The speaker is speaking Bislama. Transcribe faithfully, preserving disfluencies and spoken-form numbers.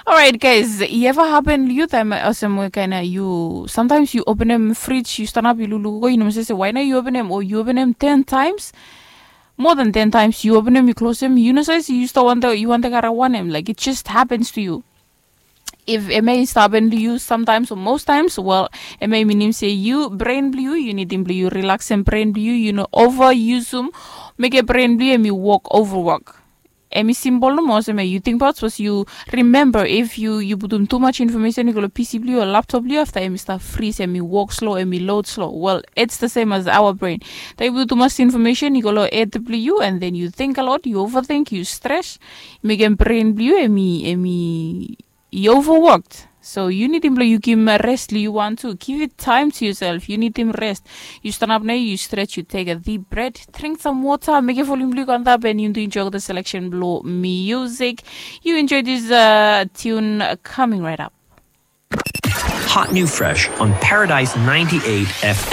Orait guys, i eva hapen long yu taem olsem we kaina yu samtaims yu openem frij, yu stanap yu lukluko, yu no mos se waina yu openem o yu openem ten taims, moa than ten taims yu openem yu klosem, yu no save se yu stap wante yu wante kara wanem, laik it just hapens to yu. If em ya i stap hapen long yu samtaims o mos taims, wel, em ya i minim se yu bren blong yu yu nidim blong yu rilaksem bren blong yu, yu no ova yusum, mekem bren blong yu em i wok ovawok. Em i simpol nomo olsem ya yu tingbaot sapos yu rimemba if yu yu putum tumas infomesen i go long pc blong yu o laptop blong yu afta em i stap fris, em i wok slo, em i lod slo. Wel, it's the same as our brain. Taem yu putum tumas infomesen i go long hed blong yu and then yu ting a lot, yu ovating, yu stres, i mekem bren blong yu em i em i i overworked. So yu nidim blong yu givim res long yu wan tu. Give it time to yourself. Yu nidim res. Yu stanap nao, yu stretch, yu take a deep breath, drink some water, mekem volume blong yu go antap and yu tu enjoy the selection blong music. Yu enjoy this uh, tune coming right up. Hot new fresh on Paradise ninety-eight F M.